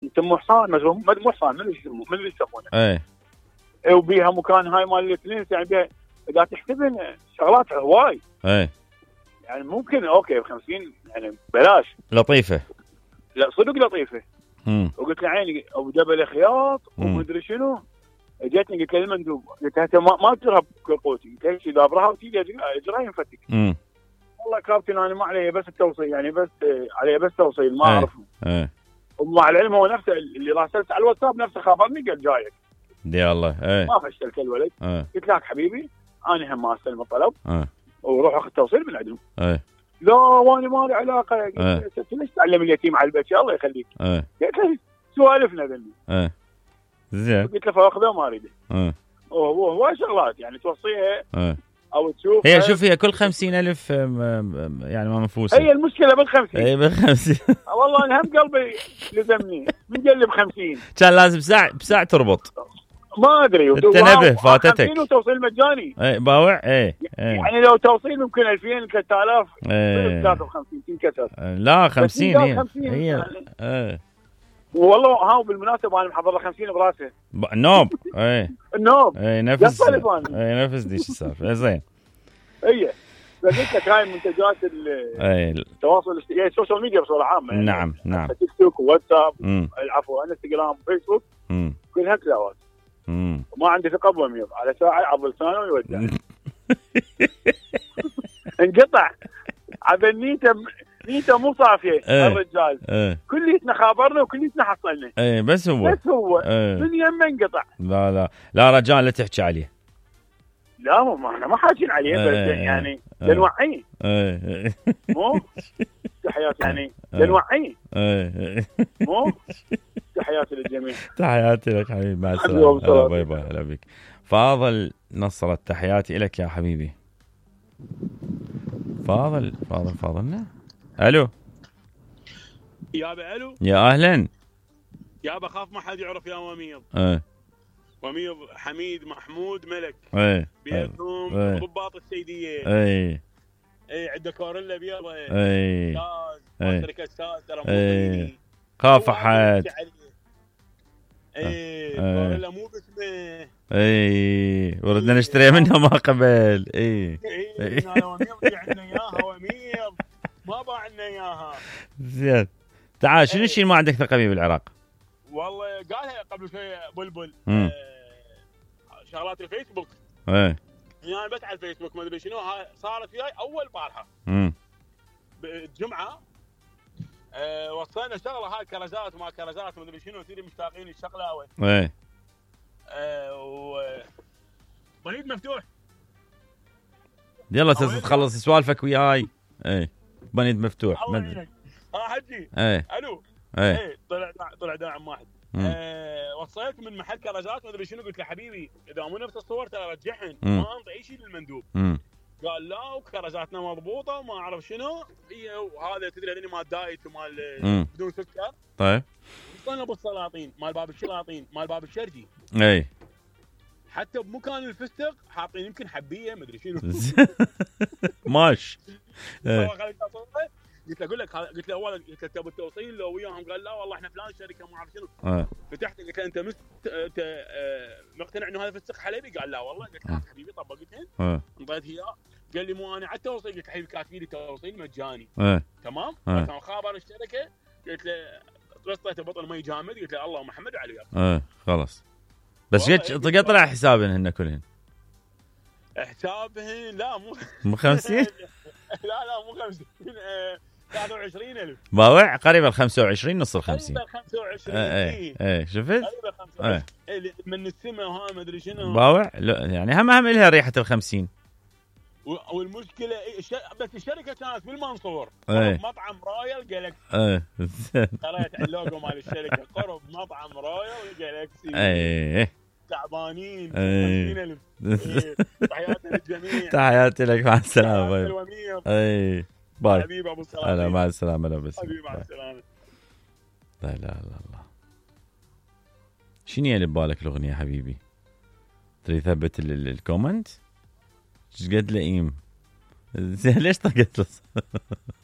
يسموه حصان مو حصان من اللي يسمونه ايه وبيها مكان هاي مال الفلنس يعني بيها اذا تحسبن شغلات هواي ايه يعني ممكن اوكي ب50 يعني بلاش لطيفه. لا صدق لطيفه. وقلت له عيني ابو جبل خياط ومدري شنو. جتني قلت له المندوب قلت له انت ما تجرب قوتي قلت له دابرها وتيجي اجرها ينفتك. والله كابتن انا ما علي بس التوصيل يعني بس علي بس توصيل ما اعرفه. ومع العلم هو نفسه اللي راسلت على الواتساب نفسه خابرني قال جايك. يا الله ما فشلت الولد. قلت لك حبيبي انا هم ما استلم الطلب وروح اخذ توصيل من عندهم. لا وانا ما لي علاقه. قلت ليش تعلم اليتيم على البيت الله يخليك. قلت له سوالفنا ذني. زين. قلت له فاخذه ما اريده. هو شغلات يعني توصيها او تشوف هي شوف هي كل 50,000 يعني ما منفوسه. هي المشكله بال50. اي بال50. والله انا هم قلبي لزمني من قلب 50 كان لازم ساعه تربط. ما ادري التنبه فاتتك. 50 وتوصيل مجاني. اي باوع. اي يعني لو توصيل ممكن 2000 3000 53 تنكسر. لا 50 هي والله ها بالمناسبه انا محضر له 50 براسه النوب. النوب نفس نفس ديش السالفه. زين. هي فقلت لك هاي منتجات التواصل الاجتماعي السوشيال ميديا بصوره عامه يعني نعم تيك توك وواتساب العفو انستغرام وفيسبوك كلها كلاوات. وما عندي ثقه بضمير على ساعه عضل لسانه ويودع. انقطع عبال نيته مو صافيه. الرجال كليتنا خابرنا وكليتنا حصلنا. بس هو من يمه انقطع. لا رجال لا تحكي عليه. لا ما احنا ما حاجين عليه بس يعني لنوعيه. مو تحياتي يعني لنوعيه. مو تحياتي للجميع. تحياتي لك حبيبي مع السلامه. باي باي. هلا بك فاضل نصرت. تحياتي لك يا حبيبي. فاضلنا. الو يابا. الو يا اهلا يابا. خاف ما حد يعرف يا وميض. وميض حميد محمود ملك. بيتهم ضباط السيديه. عنده كوريلا بيضة. ساز شركه ساز ترى خاف حد. كوريلا مو باسمه. وردنا نشتري منها ما قبل. انا وميض عندنا اياها وميض ما باع لنا اياها. زين. تعال شنو الشيء ما عندك ثقه فيه بالعراق؟ والله قالها قبل شوي بلبل. شغلات الفيسبوك. يعني بس على الفيسبوك ما ادري شنو صارت وياي اول بارحه. بالجمعه وصلنا شغله هاي كرزات وما كرزات ما ادري شنو سيدي مشتاقين الشغله بريد مفتوح. يلا تخلص سوالفك وياي. بريد مفتوح. حجي. الو. طلع داعم واحد. وصلت من محل كرزات ما ادري شنو. قلت له حبيبي اذا مو نفس الصور ترى رجعهن ما انطي اي شيء للمندوب. قال لا وكرزاتنا مضبوطه وما اعرف شنو. هي وهذا تدري هذني مال دايت ومال بدون سكر. طيب وصلنا بالسلاطين مال باب الشلاطين مال باب الشرجي. حتى بمكان الفستق حاطين يمكن حبيه ما ادري شنو. ماش. قلت له اولا قلت له تبي التوصيل لو وياهم. قال لا والله احنا فلان شركه ما اعرف شنو. فتحت قلت له انت مقتنع انه هذا فستق حلبي؟ قال لا والله. قلت له حبيبي طبقتين انطيت اياه. قال لي مو انا على التوصيل. قلت له حبيبي كاتبين لي توصيل مجاني. تمام. كان خابر الشركه. قلت له رصيته بطل مي جامد. قلت له الله محمد وعلي. خلاص بس طلع حسابهن هن كلهن. حسابهن لا مو 50. لا مو 50. 23,000 باوع قريب ال 25 نص ال 50. 25. شفت؟ من السماء وها ما ادري شنو. باوع يعني هم لها ريحه ال 50. والمشكله بس الشركه كانت بالمنصور. مطعم رويال جالكسي. قريت على اللوجو مال الشركه قرب مطعم رويال جالكسي. تعبانين. 50,000. تحياتي للجميع. تحياتي لك مع السلامه. باي حبيبي ابو سلام. مع السلامه. لا بس حبيبي مع السلامه. لا الله شنو اللي ببالك الاغنيه حبيبي؟ تريد تثبت الكومنت؟ ايش قد لئيم؟ ليش طقت له؟